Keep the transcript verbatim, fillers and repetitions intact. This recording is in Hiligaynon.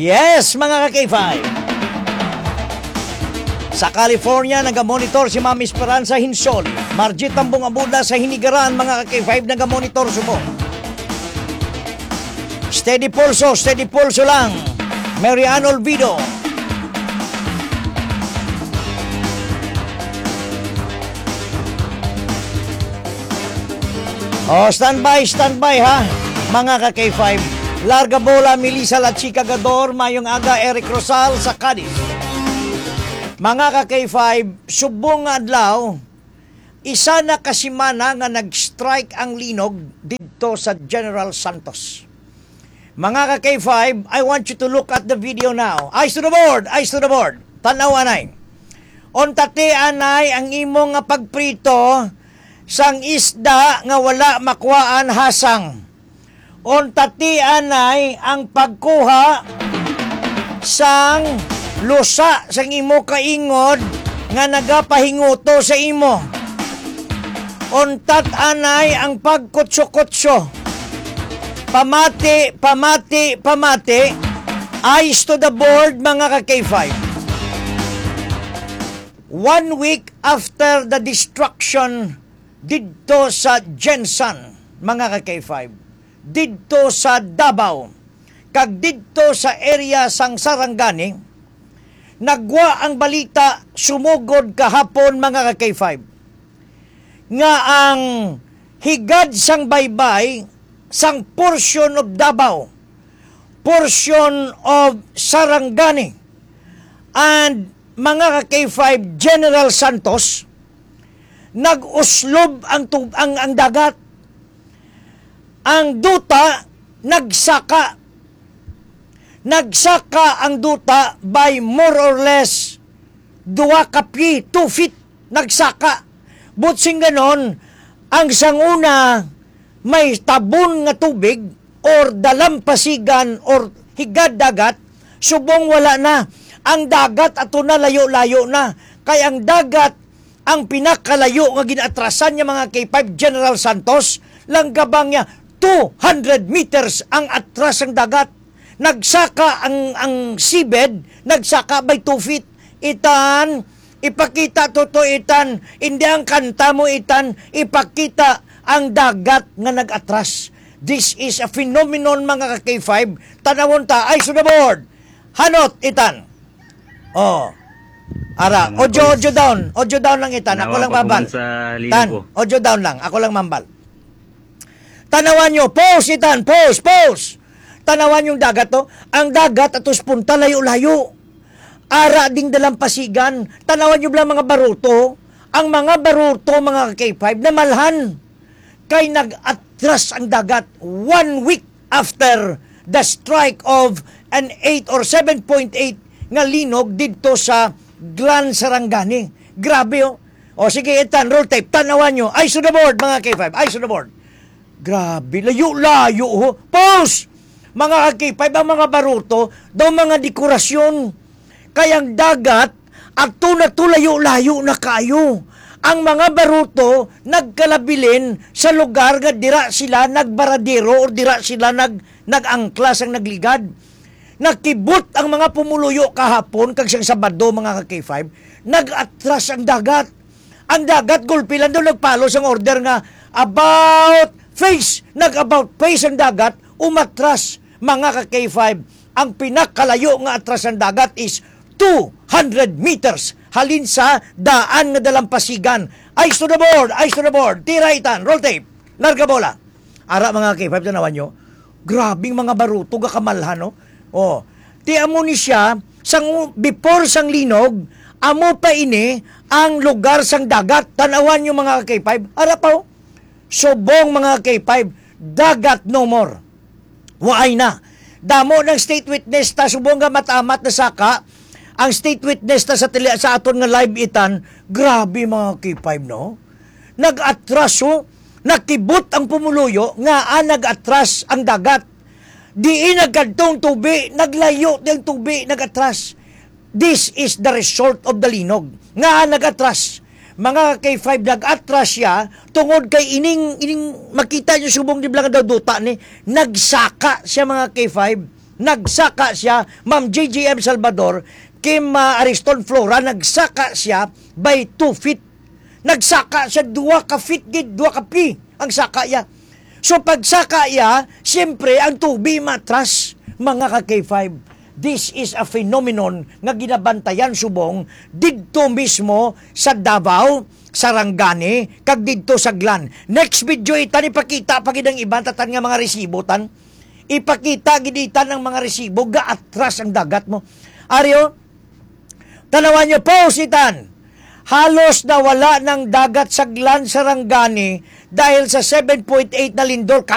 Yes, mga ka-K five. Sa California, nagamonitor si Ma'am Esperanza Hinsol. Margie Tambong Abuda sa Hinigaran, mga ka-K five, nagamonitor subong. Steady pulso, steady pulso lang. Mary Ann Olvido. Oh, standby, standby ha, mga ka-K five. Larga bola, Melissa La Chica Gador, mayong aga, Eric Rosal sa Cadiz. Mga ka-K five, subong nga adlaw, isa na ka semana nga nag-strike ang linog didto sa General Santos. Mga ka-K five, I want you to look at the video now. Eyes to the board, eyes to the board. Tan-aw anay. Unta ti anay ang imo nga pagprito sang isda nga wala makuhaan hasang. Unta ti anay ang pagkuha sang lusa sang imo kaingod nga nagapahinguto sa imo. Unta ti anay ang pagkutso-kutso. Pamati, pamati, pamati. Eyes to the board, mga ka-K five. One week after the destruction didto sa GenSan, mga ka-K five, didto sa Davao, kag didto sa area sang Sarangani, nagwa ang balita sumugod kahapon, mga ka-K five, nga ang higad sang baybay sang portion of Davao, portion of Sarangani, and, mga ka-K five, General Santos, nag-uslob ang tub-, ang, ang dagat. Ang duta nagsaka. Nagsaka ang duta by more or less dua ka pye, two feet. Nagsaka. But sing ganon, ang sanguna may tabon nga tubig or dalampasigan or higad dagat, subong wala na. Ang dagat ato na layo-layo na. Kay ang dagat, ang pinakalayo nga ginatrasan niya, mga K five, General Santos, lang gabang niya two hundred meters ang atras ang dagat. Nagsaka ang, ang seabed, nagsaka by two feet. Itan, ipakita to, to, Itan. Hindi ang kanta mo, Itan. Ipakita ang dagat nga nag-atras. This is a phenomenon, mga ka-K five. Tanawon ta, eyes to the board. Hanot, Itan. Oh. Ara, Mga audio, boys. Audio down. Audio down lang, Itan. Ako Nawa lang pa ko mabal. Sa live Tan, ko. Audio down lang. Ako lang mambal. Tanawan nyo. Pause, Itan. Pause, pause. Tanawan yung dagat, to. Ang dagat, atos punta, layo-layo. Ara ding dalampasigan. Tanawan nyo bala mga baruto. Ang mga baruto, mga K five, namalhan. Kay nag-atras ang dagat one week after the strike of an eight or seven point eight nga linog didto sa Gran Sarangani. Grabe, oh. O, sige, Itan, roll tape. Tanawan nyo. Eyes to the board, mga K five. Eyes to the board. Grabe, layo-layo, ho. Pause! Mga ka-K five, ang mga baruto, daw mga dekorasyon. Kay ang dagat, ato na to, layo-layo na kayo. Ang mga baruto nagkalabilin sa lugar nga dira sila nagbaradero o dira sila nag-, nag-angkla sang nagligad. Nakibot ang mga pumuluyo kahapon kag sang Sabado, mga ka-K five, nag-atras ang dagat. Ang dagat, gulpi lang daw nagpalo sang order nga about face, nag-about face ang dagat, umatras, mga ka-K five. Ang pinakalayo nga atras ang dagat is two hundred meters halin sa daan nga dalampasigan. Eyes to the board, eyes to the board. Tira, Itan, roll tape. Larga bola. Ara, mga K five, tanawan nyo. Grabing mga baruto, gakamalhan, no? Oh. Ti amo ni siya, sang, before sang linog, amo pa ini ang lugar sang dagat. Tanawan nyo, mga K five. Ara pa, oh. Subong, mga K five, dagat no more. Waay na. Damo ng state witness ta, subong nga matamat na saka ang state witness ta sa tele-, sa aton nga live, Itan. Grabe, mga K five, no? Nag-atras, oh. Nakibot ang pumuluyo nga, ah, nag-atras ang dagat. Diin nagkadtong tubi, naglayo di ang tubi, nag-atras. This is the result of the linog. Nga nag-atras. Mga K five, nag-atras siya tungod kay ining, ining makita nyo subong di bala nga daw duta ni, nagsaka siya, mga K five. Nagsaka siya, Ma'am G G M Salvador, Kim, ah, Ariston Flora, nagsaka siya by two feet. Nagsaka siya dua ka feet gid, dua ka pi ang saka iya. So, pagsaka iya, siyempre, ang tubi matras, mga ka K five. This is a phenomenon nga ginabantayan subong didto mismo sa Davao, Sarangani, kag didto sa Glan. Next video, itan, ipakita pa gid ang iban tatan nga mga resibo, tan. Ipakita gid itan ang mga resibo, gaatras ang dagat mo. Ari, o, tanawan niyo, post itan. Halos nawala ng dagat sa Glan, Sarangani dahil sa seven point eight na lindol.